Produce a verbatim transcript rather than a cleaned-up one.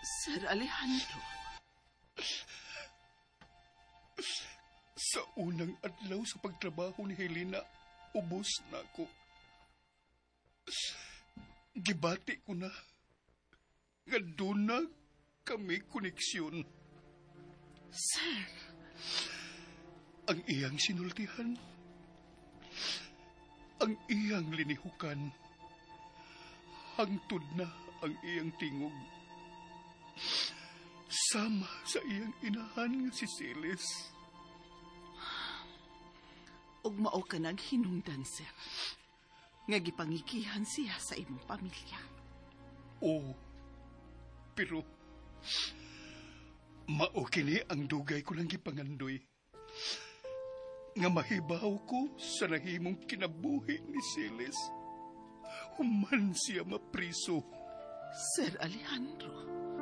Sir Alejandro. Sa unang adlaw sa pagtrabaho ni Helena, ubos na ako. Gibati ko na nga doon na kami koneksyon. Sir. Ang iyang sinultihan, ang iyang linihukan, hangtod na ang iyang tingog. Sama sa iyang inahan nga si Celis. Ug mao ka naghinungdan, sir. Nga gipangikihan siya sa imong pamilya. Oo. Pero mao kini ang dugay ko lang gipangandoy. Nga mahibaw ko sa nahimong kinabuhi ni Celis. Human siya mapriso. Sir Alejandro.